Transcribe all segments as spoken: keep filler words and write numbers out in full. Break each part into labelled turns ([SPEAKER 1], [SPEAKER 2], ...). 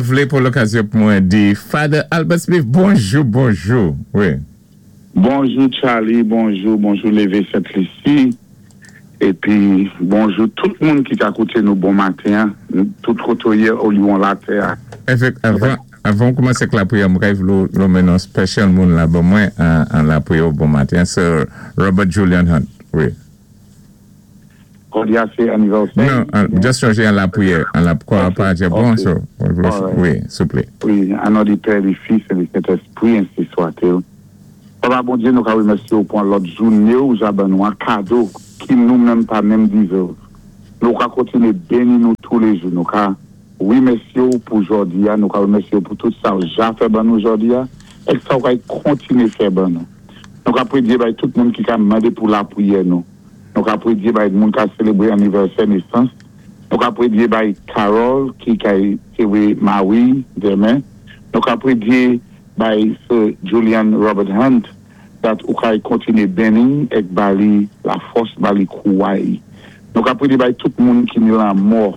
[SPEAKER 1] Mwen vlé pou lokazyon pou mwen di Father Albert Smith, bonjou, bonjou. Wi.
[SPEAKER 2] Bonjou Charlie, bonjou, bonjou Lévé Sainte-Lucie. Épi bonjou tout moun ki ka kouté nou bon maten, tout kotoyé ou latè.
[SPEAKER 1] Évèk, avan, avan koumansé ak lapriyè, mwen vlé lonmen yon special moun la, bon mwen, an, an lapriyè bon maten, sé Robert Julian Hunt, wi.
[SPEAKER 2] Jòdi a sé anivèsè.
[SPEAKER 1] Non, an, just sonjé an lapriyè, an la kwa pa bon,
[SPEAKER 2] Ok.
[SPEAKER 1] so,
[SPEAKER 2] Alright.
[SPEAKER 1] wi, souplé.
[SPEAKER 2] Wi, an non di Pè, di Fis é di Sentespwi, ensi swa-t-il. Papa Bondye, nou ka wimèsyé ou pou an lòt jouné ou ja ban nou an kado ki nou menm pa menm deserve. Nou ka kontiné béni nou tou lé jou. Nou ka wimèsyé ou pou jòdi a, nou ka wimèsyé ou pou tout sa ou ja fè ban nou jòdi a, é sa ou ka kontiné fè ban nou. Nou ka prédyé bay tout moun ki ka mandé pou lapriyè nou. Nou ka prédyé bay moun ka sélébré anivèsè nesans. Nou ka prédyé bay Carol ki ka téwé mari denmen. Nou ka prédyé bay Sir Julian Robert Hunt that ou ka kontiné béni ek ba li la fòs, ba li kouway. Nou ka prédyé bay tout moun ki ni lanmò,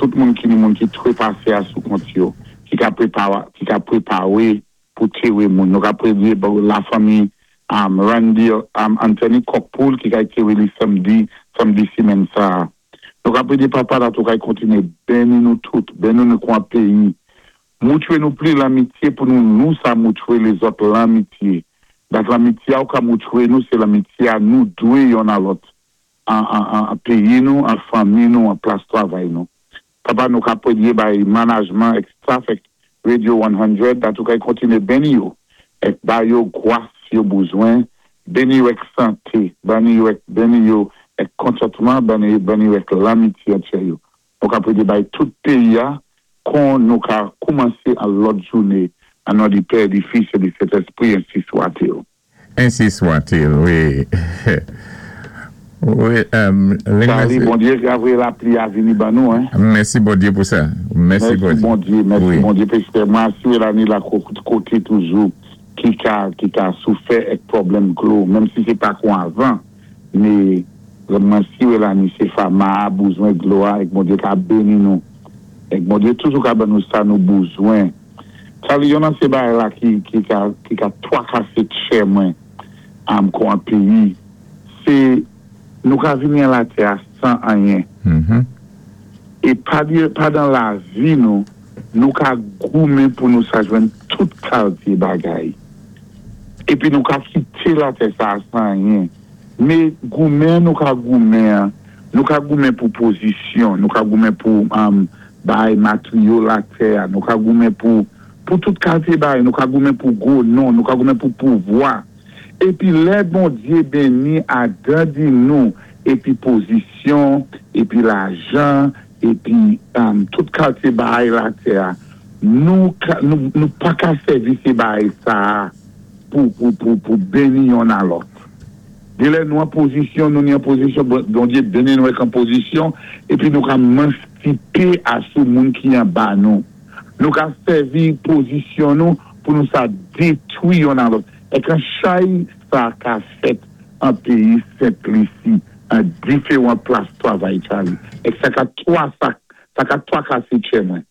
[SPEAKER 2] tout moun ki ni moun ki trépasé a sou kont yo, ki ka prépa ki ka préparé pou téwé moun. Nou ka prédyé bay la fanmi um, Randy um, Anthony Cockpool ki ka téwé li samdi, samdi simenn sa. Nou ka prédyé papa that ou ka kontiné béni nou tout, béni nou kon péyi. Moutwé nou pli lanmitié pou nou nou sa moutwé lézòt lanmitié. Dat lanmitié a ou ka moutwé nou, sé lanmitié a nou dwé yonn a lòt. An, an, an, an péyi nou, an fanmi nou, an plas twavay nou. Papa nou ka prédyé bay manajman ek staff ek Radio san, dat ou ka kontiné béni yo. Ek ba yo gwas yo bouzwen, béni yo ek santé, béni yo ek, béni yo ek kontantman, béni, béni yo ek lanmitié antyè yo. Nou ka prédyé bay tout péyi a, kon nou ka koumansé an lòt jouné, an non di Pè, di Fis é di Sentespwi, ensi swa-t-il.
[SPEAKER 1] Ensi swa-t-il, wi. Wi, um,
[SPEAKER 2] Charlie, Bondye voyé lapli a vini ban nou, hein.
[SPEAKER 1] Mèsi Bondye pou sa. Mèsi
[SPEAKER 2] Mèsi Bondye, mèsi
[SPEAKER 1] Wi.
[SPEAKER 2] Bondye, paské mwen si la ni la koté toujou ki ka ki ka soufè ek pwoblèm dlo, menm si sé pa kon avan, mé mwen si la ni sé fama bouzwen dlo a, ek Bondye ka béni nou. Ek Bondye toujou ka ban nou sa nou bouzwen. Charlie, yon nan sé bagay la ki ki ka ki ka twakasé tchè mwen am kon an péyi, sé nou ka vini an latè a san anyen.
[SPEAKER 1] Mhm.
[SPEAKER 2] É pa, di- pandan lavi nou, nou ka goumen pou nou sa jwenn tout kalité bagay. Épi nou ka kité latè sa san anyen. Mé goumen nou ka goumen, nou ka goumen pou pozisyon, nou ka goumen pou um, bay materyo latè, nou ka goumen pou pou tout kalité bagay, nou ka goumen pou gwo non, nou ka goumen pou pouvwa. Épi lè Bondye béni agrandi nou, épi pozisyon, épi lajan, épi um, tout kalité bagay latè, nou, ka- nou, nou pa ka sèvi sé bagay sa pou, pou, pou, pou béni yonn a lòt. Dé lè nou an pozisyon, nou ni an pozisyon, bon Bondye béni nou ek an pozisyon, épi nou ka manstipé a sou moun ki an ba nou. Nou ka sèvi pozisyon nou pou nou sa détwi yonn a lòt. É kan chay sa ka fèt an péyi Sent-Lisi, an diferan plas twavay Charlie. É sa ka twa sa, sa ka twakasé tchè mwen.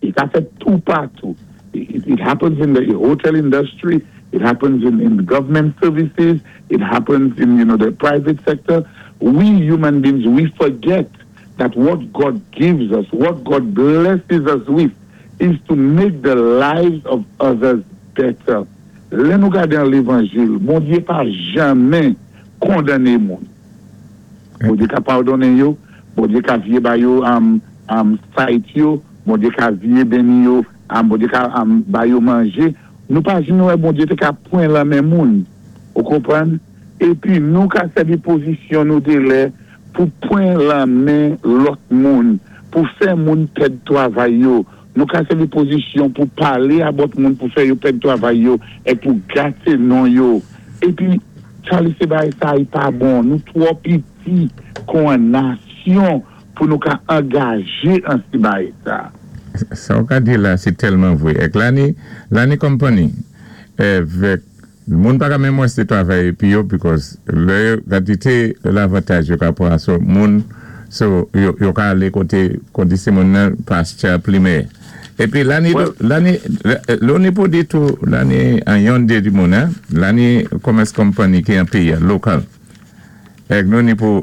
[SPEAKER 2] It ka fèt tou patou. It, it happens in the hotel industry. It happens in, in government services. It happens in, you know, the private sector. We human beings, we forget that what God gives us, what God blesses us with, is to make the lives of others better. Lè nou gadé an lévanjil, Bondye pa janmen kondanné moun. Bondye ka padonnen yo, Bondye ka vyé ba yo um, um, sight yo, Bondye ka vyé béni yo, um, Bondye ka um, ba yo manjé. Nou pa janmen wè Bondye té ka pwan lanmen moun. Ou konpwann? Épi nou ka sèvi pozisyon nou dé lè pou pwan lanmen lòt moun, pou fè moun pèd twavay yo. Nou ka sèvi pozisyon pou palé about moun pou fè yo pèd twavay yo é pou gaté non yo. Épi, Charlie sé bagay sa yi pa bon. Nou twò piti kon an nasyon pou nou ka angajé an si bagay sa.
[SPEAKER 1] Sa ou ka di la, sé tèlman vwé. Ek la ni, la ni company, évèk, moun pa ka menm wè sé twavay épi yo, because lè yo kantité lavantaj yo ka pran so moun, so yo, yo ka alé koté, kondi sé moun nan pasture plimè. Épi la ni, la ni, lò ni pou di tou, la ni an yon dé di moun, la ni commerce company ki an péyi, local. Èk nou ni pou,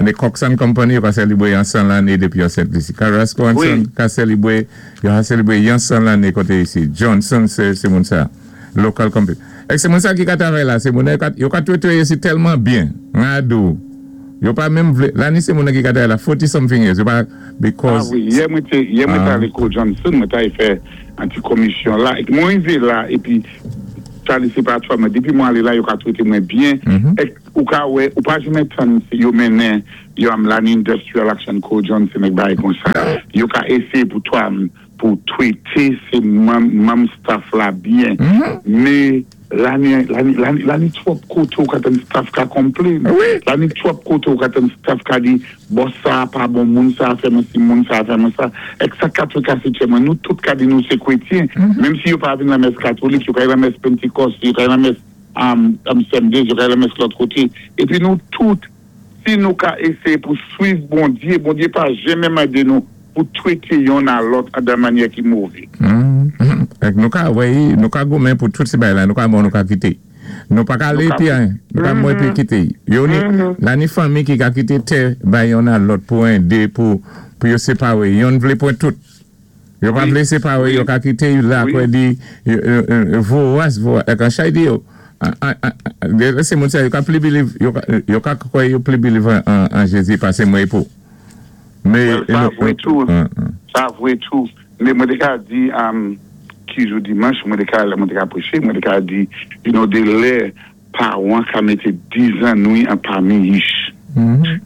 [SPEAKER 1] ni Cox and Company yo ka sélibwé yon san lanné dépi yo Sent Lisi. Carrasco and Son ka sélibwé, yo ka sélibwé yon san lanné koté isi. Johnson sé sé moun sa, local company. Èk sé moun sa ki ka travay la, sé moun yo ka twété isi tèlman byen, ngadou. Yo pa menm vlé, la ni sé moun ki ka travay la forty something years, yo pa, because.
[SPEAKER 2] Ah wi, yè mwen té, yè mwen té alé kou Johnson, mwen té fè an ti komisyon la, èk mwen rivé la, épi, sa li sé pa twa, mwen depi mwen alé la, yo ka twété mwen byen, èk ou ka wè, ou pa janmen tann yo mennen, yo am lan industrial action kou Johnson èk bagay kon sa, yo ka éséyé pou twa, pou twété sé manm staff la byen, mé la ni, la ni, la ni, la ni twòp koté ou ka tann staff ka complain, la ni twòp koté ou ka tann staff ka di, boss sa pa bon, moun sa fè mwen si, moun sa fè mwen sa, èk sa ka twé kasé tchè mwen, nou tout ka di nou sé kwétyen, menm si yo pa vin la mès katolik, yo ka la mès Pentecost, yo ka la mès am, am Sundays, yo ka la mès lòt koté, épi nou tout, si nou ka éséyé pou swiv Bondyé, Bondyé pa janmen mandé nou pou twété yonn a lòt an dan mannyè ki mové.
[SPEAKER 1] Èk nou ka wè, nou ka goumen pou tout sé bagay la, nou ka mò nou ka kité. Nou pa ka alé pi an, nou ka mò pi kité. Yo ni, la ni fanmi ki ka kité tè bay yonn a lòt pou en, dé, pou, pou yo séparé. Yonn vlé pwan tout. Yo pa vlé séparé, yo ka kité yo la kwen di, vowas, vowas, èk an chay di yo, sé moun sa, yo ka pli believe, yo ka kwè yo pli believe an Jésus pasé mwen pou.
[SPEAKER 2] Sa vwé tou, sa vwé tou, mé mwen té ka di, ki jou dimanch, mwen té ka, mwen té ka préché, mwen té ka di, you know, dé lè pawan ka mété dizannwi an pami yich.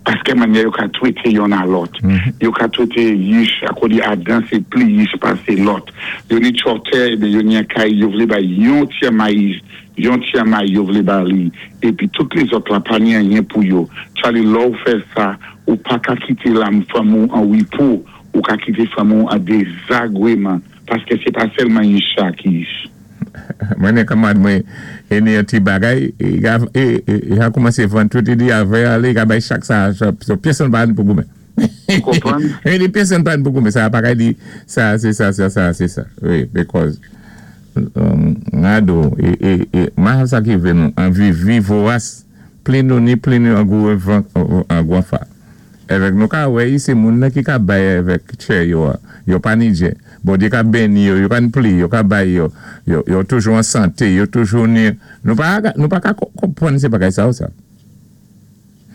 [SPEAKER 2] Paské mannyè yo ka twété yonn a lòt. Yo ka twété yich, ako di Adan sé pli yich pasé lòt. Yo ni chòtè, ébé yo ni an kay, yo vlé bay yon tyè mayi, yon tyè mayi yo vlé ba li, épi tout lézòt la pa ni anyen pou yo. Chali lò ou fè sa, ou pa ka kité lam fanm ou an wipo, ou ka kité fanm ou an dézagwéman, paské sé pa sèlman yich sa ki yich.
[SPEAKER 1] Mwen é kanmad mwen, é ni an ti bagay, é a koumansé vann tout, é di avè alé, ka bay chak sa, so pyèsonn pa ni pou goumen. É di pyèsonn pa ni pou goumen, sa pa ka di, sa, sé sa, sa, sa, sé sa. Wi, because, ngado, é, é, ma sa ki vle nou, an vi, vi vowas, pli nou ni, pli nou an gou an gou an fa. Évèk nou ka wè, sé moun nan ki ka bay évèk tchè yo, yo pa ni djè. Bondyé ka béni yo, yo ka pli, yo ka bay yo, yo, yo toujou an santé, yo toujou ni, nou pa, nou pa ka konpwann sé bagay sa ou sa.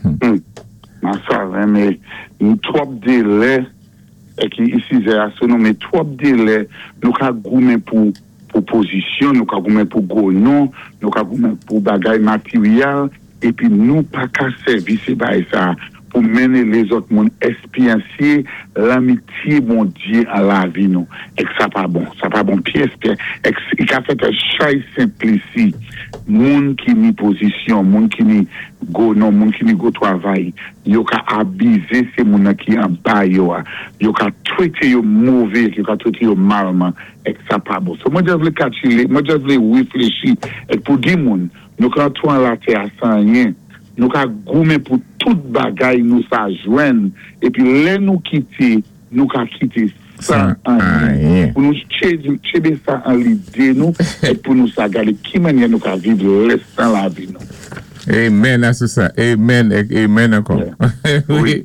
[SPEAKER 2] Hmm. Ma sa, mé nou twòp dé lè, é ki isi zè aso nou, mé twòp dé lè, nou ka goumen pou, pou pozisyon, nou ka goumen pou gwo non, nou ka goumen pou bagay materyèl, épi nou pa ka sèvi sé bagay sa pou mennen lézòt moun espyansyé lanmityé Bondyé an lavi nou. Èk sa pa bon, sa pa bon pyès pyès. Èk i ka fèt chay Sentlisi, moun ki ni pozisyon, moun ki ni gwo non, moun ki ni gwo twavay, yo ka abizé sé moun ki an ba yo a. Yo ka twété yo mové, yo ka twété yo malman, èk sa pa bon. So mwen just vlé katchilé, mwen just vlé wéfléchi, èk pou di moun, nou ka touan la tè a san anyen, nou ka goumen pou tout bagay nou sa jwenn, épi lè nou kité, nou ka kité san anyen. Pou nou tchébé sa an lidé nou, é pou nou sa gadé ki mannyè nou ka viv lèstan lavi nou.
[SPEAKER 1] Amen a sou sa. Amen, amen ankò.
[SPEAKER 2] Wi.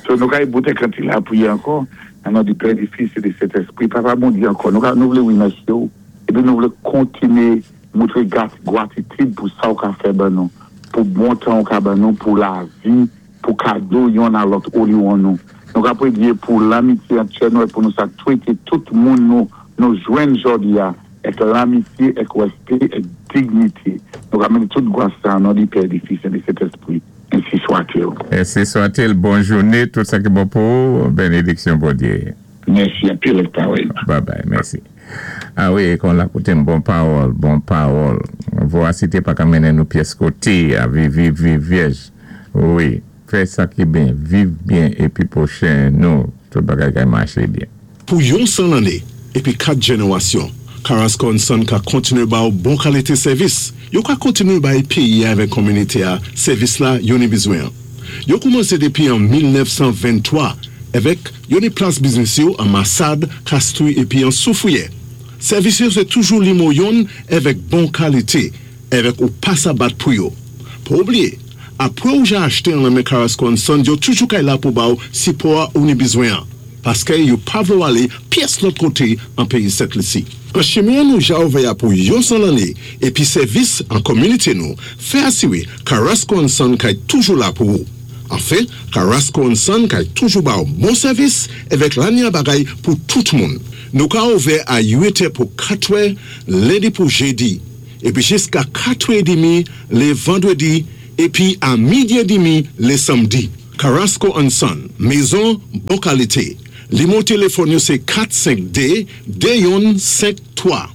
[SPEAKER 2] So nou ka y boute kanti la priye ankò, an non di Pè, di Fis é di Sentespri. Papa Bondyé ankò, nou ka nou vlé wimèsyé ou, épi nou vlé kontiné moutré gwatitid pou sa ou ka fè ban nou, pou bon tan ou ka ban nou, pou lavi, pou kado yonn a lòt ou li wan nou. Nou ka pwédyé pou lanmityé antjè nou é pou nou sa twété tout moun nou nou jwenn jòdi a, èk lanmityé, èk wèspé, èk dignité. Nou ka mennen tout gwa sa, non di Pè, di Fis, é di Sentespri. Ensi swa-t-il.
[SPEAKER 1] Ensi swa-t-il. Bon jouné, tout sa ki bon pou ou, bénédiksyon Bondyé.
[SPEAKER 2] Mèsi, anpil parèy.
[SPEAKER 1] Bye bye, mèsi. Ah wi, kon la koute bon pawòl, bon pawòl. Vorasité pa ka mennen nou pyès koté, a viv, viv, viv, vyèj. Wi, fè sa ki byen, viv byen, épi pwochen nou, tout bagay ka maché byen.
[SPEAKER 3] Pou yon san lanné, épi kat jénéwasyon, Carrasco and Son ka kontiné ba ou bon kalité sèvis. Yo ka kontiné bay péyi avèk kominité a, sèvis la yo ni bizwen. Yo koumansé dépi an mil nèf san venntwa, Évek yo ni plas biznis yo an Masad, Kastwi épi an Soufwiyè. Sèvis yo sé toujou nimo youn évek bon kalité, évek ou pa sa bat pou yo. Pa oubliyé, apwé ou ja achté an lan men Carrasco and Sons, yo toujou kay la pou ba ou sipò ou ni bizwen an. Paské yo pa vlé ou alé pyès lòt koté an péyi Sent Lisi. An chimen nou ja ouvè a pou yon san lanné épi sèvis an kominité nou, fè asiwé Carrasco and Son kay toujou la pou ou. Anfen, Carrasco and Son kay toujou ba ou bon sèvis évek lanya bagay pou tout moun. Nou ka ouvè a uit è pou katwè, lendi pou jédi, épi jiska katwè édmi lé vandwédi, épi a midi édmi lé sanmdi. Carrasco and Son, mézon bon kalité. Nimo téléfòn yo sé kat senk dé, dé youn senk twa.